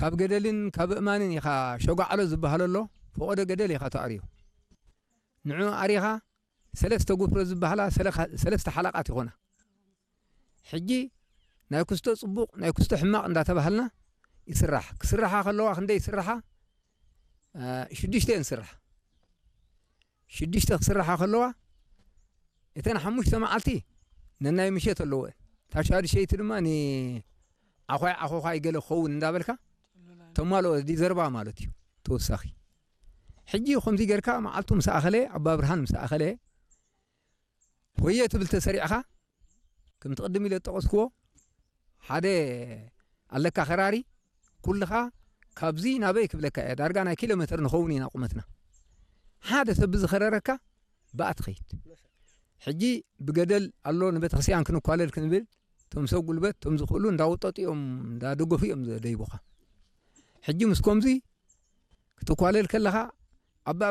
ካብ ገደልን ካብ እማንን ኢኻ ሸጓዕሎ ዝበሃለሎ ፈቐዶ ገደል ኢኻ ተኣርዮ። ንዑ ኣሪኻ ሰለስተ ጉፍሮ ዝበሃላ ሰለኻ- ሰለስተ ሓላቓት ይኾና። ሕጂ ናይ ኩስቶ ጽቡቕ ናይ ኩስቶ ሕማቕ እንዳተባሃልና ይስራሕ። ክስራሓ ከለዋ ክንደይ ይስራሓ? ሽዱሽተ እየን ስራሕ። ሽዱሽተ ክስራሓ ከለዋ እተን ሓሙሽተ መዓልቲ ነናይ ምሸት ኣለዎ። ታሻድሸይቲ ድማ ንዓኾይ ዓኾዃይ ገለ ክኸውን እንዳበልካ ተማልኦ ዲዘርባ ማለት እዩ። ተወሳኺ ሕጂ ከምዚ ጌርካ መዓልቱ ምስ ኣኸለ ኣባ ብርሃን ምስ ኣኸለ ወየ ትብል ተሰሪዕኻ ከምቲ ቅድም ኢለ ዝጠቐስክዎ ሓደ ኣለካ ከራሪ ኩልኻ ካብዚ ናበይ ክብለካ እየ ዳርጋ ናይ ኪሎ ሜትር ንኸውን ኢና ቁመትና ሓደ ሰብ ብዝኸረረካ ብኣ ትኸይድ ሕጂ ብገደል ኣሎ ንቤተክርስትያን ክንኳለል ክንብል ቶም ሰብ ጉልበት ቶም ዝኽእሉ እንዳወጠጡ እዮም እንዳደገፉ እዮም ዘደይቡኻ ሕጂ ምስ ከምዚ ክትኳለል ከለኻ ኣባ